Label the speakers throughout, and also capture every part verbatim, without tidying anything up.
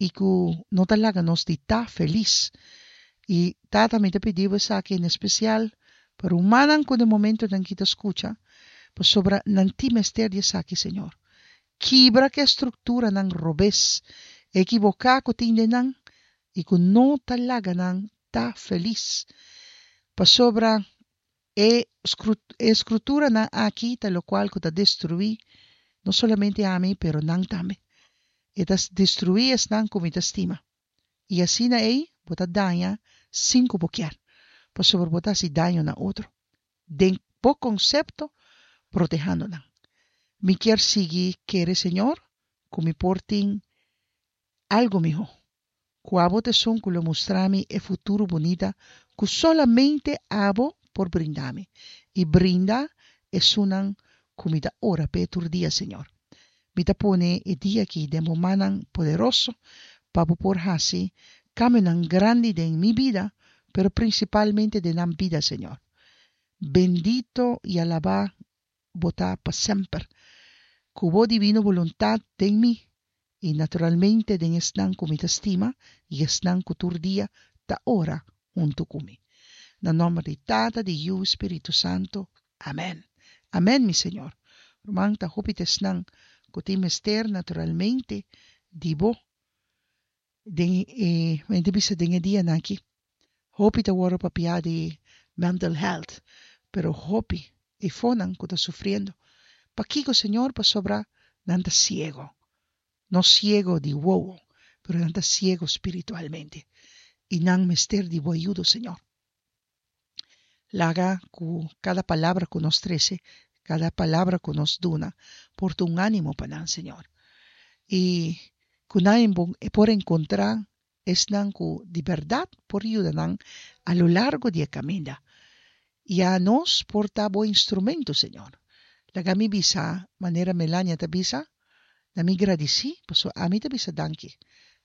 Speaker 1: I ku no ta laga nos di ta felis. I Tata, mi ta pidi Bo esaki en espesial pa rumannan ku den momentonan aki ta skucha, pasobra nan tin mester di esaki, Señor. Kibra ku e strukturanan robes, ekiboká ku tin den nan i ku no ta laga nan ta felis. Pasobra e e skruturanan aki ta lokual ku ta destruí no solamente ami pero nan tambe. E ta destruí esnan ku mi ta stima. I asina ei bo ta daña sin ku bo kier, pasobra bo ta hasi daño na otro den bo konsepto protehando nan. Mi kier sigui kere Señor ku mi por tin algu mihó. Ku abo ta esun ku lo mustra mi e futuro bunita ku solamente abo por brinda mi i brinda esunnan ku mi ta ora p'e tur dia Señor. Mi ta pone e dia aki den bo mannan poderoso pa bo por hasi kambionan grandi den mi bida pero prinsipalmente den nan bida Señor. Bendito i alabá bo ta pa semper. Ku bo divino boluntat den mi i naturalmente den esnan ku mi ta stima i esnan ku tur dia ta ora huntu ku mi. Na nòmber di Tata, di Yu i Spiritu Santu. Amèn. Amèn, mi Señor. Ruman, ta hopi ta esnan ku tin mester naturalmente di bo den e, mi ta bisa den e dianan aki. Hopi ta wòrdu papiá di mental health, pero hopi eifonan ku ta sufriendo. Pakiko, Señor? Pasobra nan ta siego. No siego di wowo, pero nan ta siego spiritualmente. I nan mester di bo ayudo, Señor. Laga ku kada palabra ku nos trese, kada palabra ku nos duna, por ta un ánimo pa nan, Señor. I ku nan por enkontrá esnan ku di bèrdat por yuda nan a lo largo di e kaminda. I anos por ta bo instrumento, Señor. Laga mi bisa manera Melania ta bisa, Na mi gradisí, pasobra ami ta bisa danki.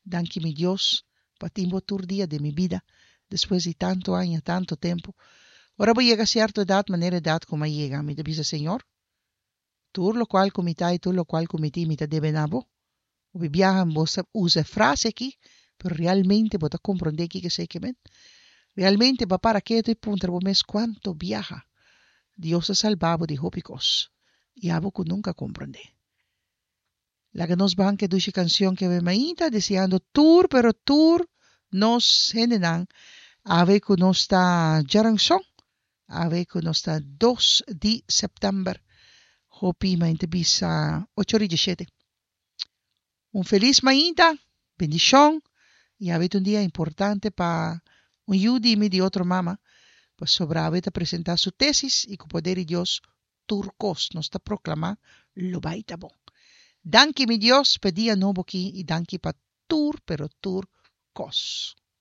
Speaker 1: Danki mi Dios pa tin bo tur dia den mi bida, despues di tantu aña, tantu tempu. Ora bo yega sierto edat, manera edat ku mi a yega, mi ta bisa, Señor, tur lokual ku mi ta i tur lokual ku mi tin, mi ta debe na bo. Hopi biaha bo sa usa e frase aki, pero realmente bo ta komprondé kiko esei ke men? Realmente bo a para ketu i puntra bo mes kuantu biaha Dios a salba bo di hopi kos i abo ku nunka a komprondé. Laga nos ban ku e dushi kansion ke awe mainta deseando tur pero tur nos hendenan awe ku nos ta djaranson, awe ku nos ta dos di sèptèmber. Hopi mainta bisa ocho ora i dieshete. Un felis mainta, bendishon i awe ta un dia importante pa un yu di mi di otro mama pasobra awe ta presenta su tesis i ku poder di Dios tur kos nos ta proklamá lo bai ta bon. Danki mi Dios p'e dia nobo ki i danki pa tur pero tur kos.